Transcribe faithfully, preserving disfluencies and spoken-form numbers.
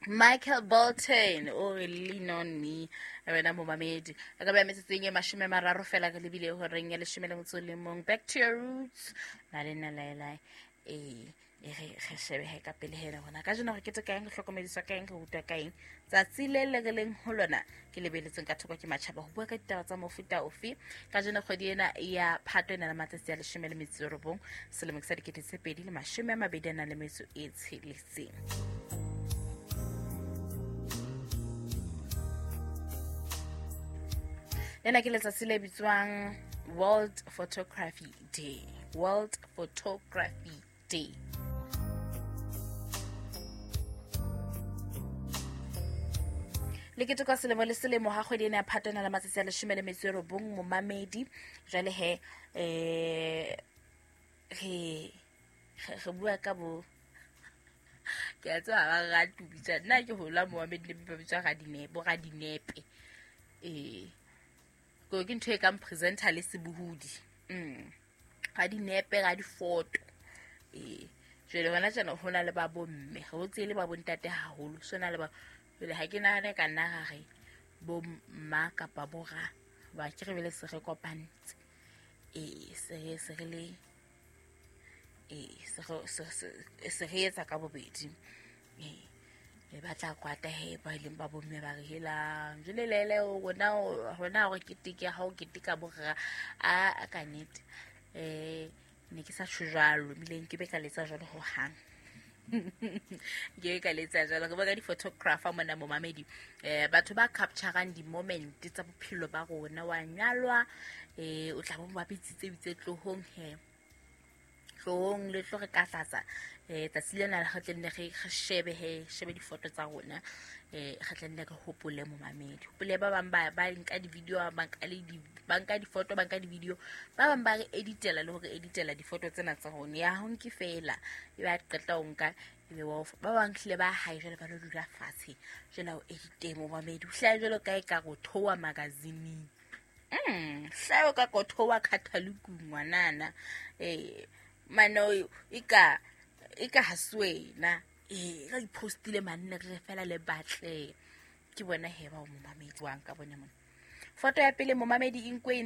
Michael Bolton o re lean on me wena momamedi a ka ba metsotsong e mashome a mararo fela re lebile horeng ya leshome le motso o le mong. Back to your roots na le nna laelae. Ee, e re re shebehe ka pele hela gona ka jeno re keteka eng, re hlokomediswa ka eng, re rutwa ka eng tsatsi le le re leng ho lona ke lebeletseng ka thoko ke matjhaba ho bua ka ditaba tsa mofuta ofe. Ka jeno kgwedi ena ya Phato e na le matsatsi a leshome le metso e robong selemong sa dikete tse pedi le mashome a mabedi a nang le metso e tsheletseng. Lena ke letsatsi le bitswang World Photography Day. World Photography Day. Le keteka selemo le selemo ha kgwedi ena ya Phato e na le matsatsi a leshome le metso e robong momamedi. Jwale he eh re re bua ka bo ke a tseba ba rate ho bitsa nna ke hola momamedi le ba bitswa radinepe, bo radinepe. Eh ko ke ntho e kang presenter le sebohodi. Mm. Ga dinepe, ga difoto. Eh jwale hona tjena ho na le ba bomme, re o tsele ba bontate haholo, so na le ba jwale ha ke nahane ka nna ra re bo mma kapa bo ra ba ke re bele se re kopantse. Eh se re se re le eh se re se re etsa ka bobedi. Eh le batla kwata he ba ileng ba bomme ba re helang jwale lele rona rona hore keteke ha o keteka bo ra a ka nnete eh ne ke sa tjho jwalo ebile nke be ka letsa jwalo ho hang. Ke ka letsa jwalo re bua ka di-photographer mona momamedi. Eh batho ba capturang di-moment tsa bophelo ba rona. Wa nyalwa eh o tla bo ba bitsitse bitse tlohong he tlohong le tlo re katlatsa eh tsatsi lena re tle nne re shebe he shebe difoto tsa rona eh re tle nne re hopole momamedi. Hopole ba bang ba ba nka di-video, ba nka le di ba nka difoto, ba nka di-video, ba bang ba re editela le hore editela difoto tsena tsa rona. Ya ho nke fela e ba qeta ho nka ebe wa ba bang hlile ba hae jwale ba lo dula fatshe jwale o edite momamedi. O hlaha jwalo ka e ka go thowa magazine. Mm hlaha ka go thowa catalog ngwanana. Eh mano ika ika ha swena eh re ipostile manne re fela le batle ke bona he ba o momamedi wa nka bona mona. Foto ya pele momamedi e nkwe